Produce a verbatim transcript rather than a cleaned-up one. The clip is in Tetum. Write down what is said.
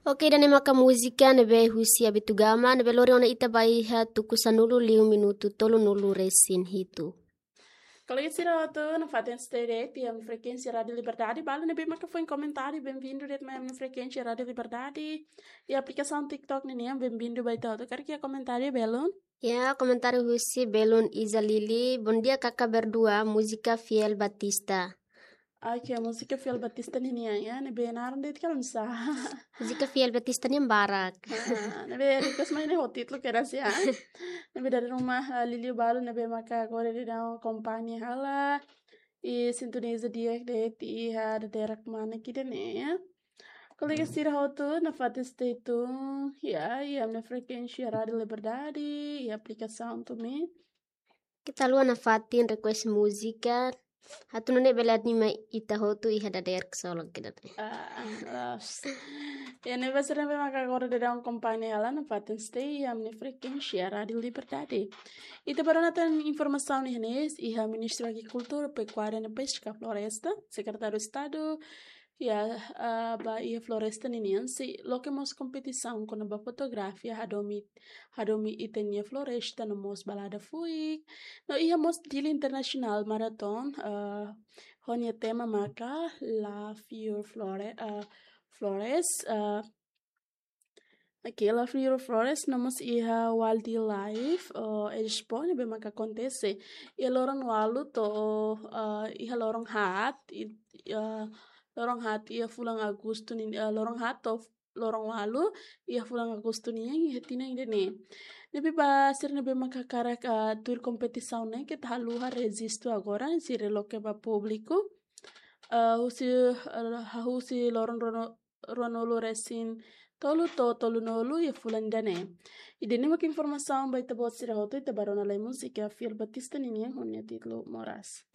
Oke, ida-ne'e maka múzika ne'ebé husi Abitugama, ne'ebé lori ona ita ba iha tuku sanulu liu minutu tolunulu resin hitu. Kolega sira hotu, nafatin stay de'it iha ami-nia frekuénsia Rádiu Liberdade, balu ne'ebé maka foin komentáriu, bem-vindo de'it mai ami-nia frekuénsia Rádiu Liberdade. Iha aplikasaun TikTok ninian, bem-vindo ba ita hotu. Karik iha komentáriu belun? Ya, komentáriu husi belun Iza Lili. Bom dia, kaka berdua, múzika Fiel Batista. Oke, múzika Fiel Batista ninian, ya, ne'ebé naran de'it kalan sa. Múzika Fiel Batista nian barak. Ah, ne'ebé request mai ne'e ho títulu kedas ya. Ne'ebé dala ruma, ah, Lili balu ne'ebé maka agora daudaun akompaña hela. I sintoniza di'ak de'it iha dadeer kmanek ida-ne'e. Kolega sira hotu, nafatin stay tune, ya, iha ami-nia frekuénsia Rádiu Liberdade, iha aplikasaun TuMi. Keta haluha nafatin request múzika, atu nune'e bele anima ita hotu iha dadeer ksolok ida-ne'e. Ah, loos. Ya, ne'ebé sira ne'ebé maka agora daudaun akompaña hela, nafatin stay iha ami-nia frekuénsia Rádiu Liberdade. Ita bá rona tan informasaun iha ne'e, iha Ministériu Agrikultura, Pekuária no Peska, Floresta, Sekretáriu Estadu, ya, ah, ba iha floresta ninian sei loke mós kompetisaun kona-ba fotografia hadomi, hadomi ita-nia floresta no mós balada fuik. No iha mós Dili International Marathon, ah, ho nia tema maka Love Your Flore-, ah, Flores, ah, oke, Love Your Flores, no mós iha Wildlife, ah, Expo ne'ebé maka akontese iha loron ualu to'o, ah, iha loron haat, i-, ah, loron haat iha fulan Agostu nin-, ah, loron haat to'o loron ualu iha fulan Agostu nian iha tinan ida-ne'e. Ne'ebé ba sira ne'ebé maka hakarak, ah, tuir kompetisaun ne'e keta haluha rejistu agora, sira loke ba públiku. Ah, husi, ah, hahú husi loron ruanu-, ruanulu resin tolu to'o tolunulu iha fulan ida-ne'e. Ida-ne'e maka informasaun ba ita-boot sira hotu, ita bá rona lai múzika Fiel Batista ninian ho nia títulu Moras.